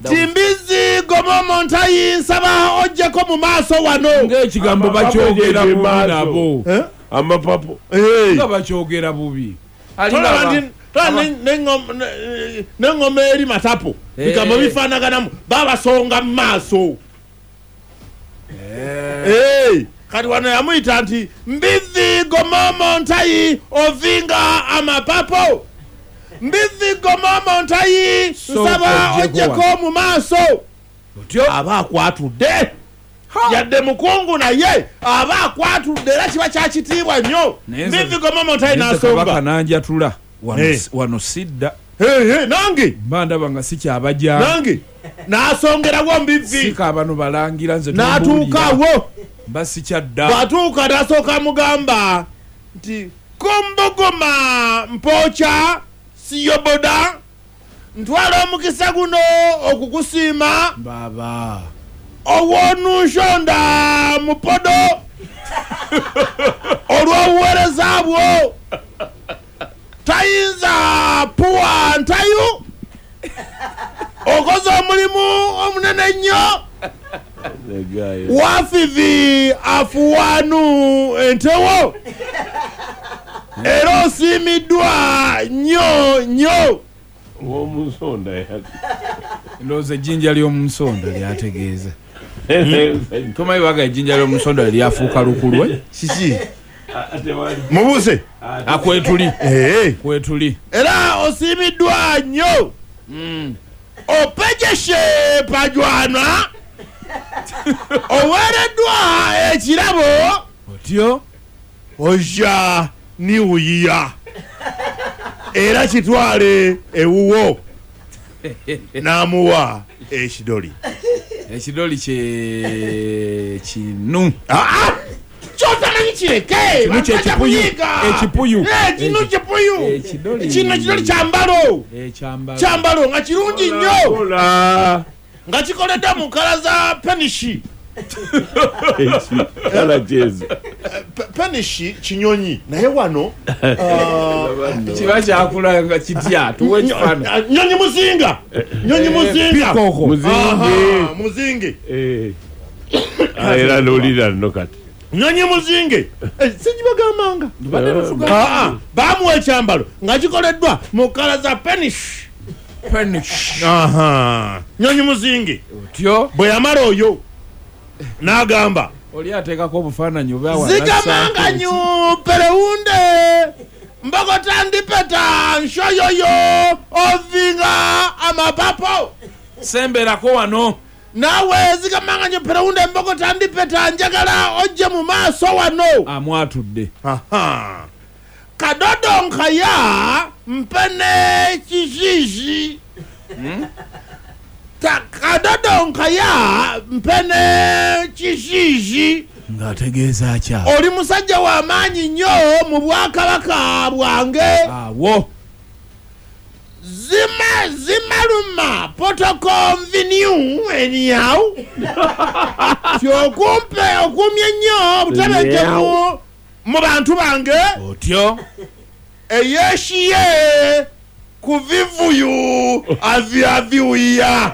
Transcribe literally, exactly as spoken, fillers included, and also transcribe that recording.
Timbizi gomomo ntayi nsaba ojjeko mu maaso wano. Ng'ekigambo bakyogera bubi nabo. Amapapo. Nga bakyogera bubi. N'engoma eri matapo. Bigambo bifaanaganamu babasonga mu maaso. Kati wano yamuyita nti mbizi gomomo ntayi ovinga amapapo. Mbizi gomomo ntayi nsaba ojjeko mu maaso. Aba akwatudde. Yadde mukungu naye aba akwatudde era kiba kya kitiibwa nnyo. Mbizi gomomo ntayi n'asonga. Kabaka n'anjatula wano sidda. Nange mba ndaba nga sikyabajja. Nange n'asongerawo mbizi. Sika bano balangira nze n'atuukawo. Mba sikyadda. Bw'atuuka n'asooka mugamba nti kumbuguma mpoocha siyoboda ntwala omukisa guno okukusiima. Baba. Owonunshonda mupodo olw'obuweereza bwo tayinza puwa ntayu okoze omulimu omunene ennyo wafivi afuwanu entewo era osiimiddwa nnyo nnyo. Owomunsonda ndowooza ejjinja ly'omunsonda lyategeeza. Tomanyi baga ejjinja ly'omunsonda lyafuuka lukulwe? Kiki? Mubuuse akwetuli kwetuli era osiimiddwa nnyo opejeshe pajwana oweereddwa ekirabo otyo ojja niwuyiya era kitwale ewuwo. N'amuwa ekidoli. Ekidoli kye kinu. Kyotamanyi kireke. Kinu kyekipuyu. Ekipuyu. Kinu kipuyu. Kino ekidoli kyambalo. Kyambalo nga kirungi nnyo. Nga kikoleddwa mu nkala za penishi. Penishi kinyonyi naye wano kiba kyakula nga kitya tuwe ekifaananyi. Nyonyi muzinga. Nyonyi muzinga. Muzinge. Era n'olira nno kati. Nyonyi muzinge. Singibagambanga. Bamuwa ekyambalo nga kikoleddwa mu kkala za penishi. Penishi. Nyonyi muzinge. Otyo. Bwe yamala oyo n'agamba oli ateekako obufaananyi oba zigamanganyu perewunde mbogotandipeta nshoyoyo ovinga amapapo. Semberako wano naawe zigamanganyu perewunde mbogotandipeta njagala ojje mu maaso wano. Amwatudde. Kadodo nkaya mpene kijiji. Kadodo nkaya mpene kijiji. Ng'ategeeza kya? Oli musajja wa maanyi nnyo mu bwakabaka bwange. Awo. Zima zimaluma potokonvinu eniyawu. Kyokumpe okumye nnyo obutebenkevu mu bantu bange. Otyo. Eyeshiye kuvivuyu avi avi uya.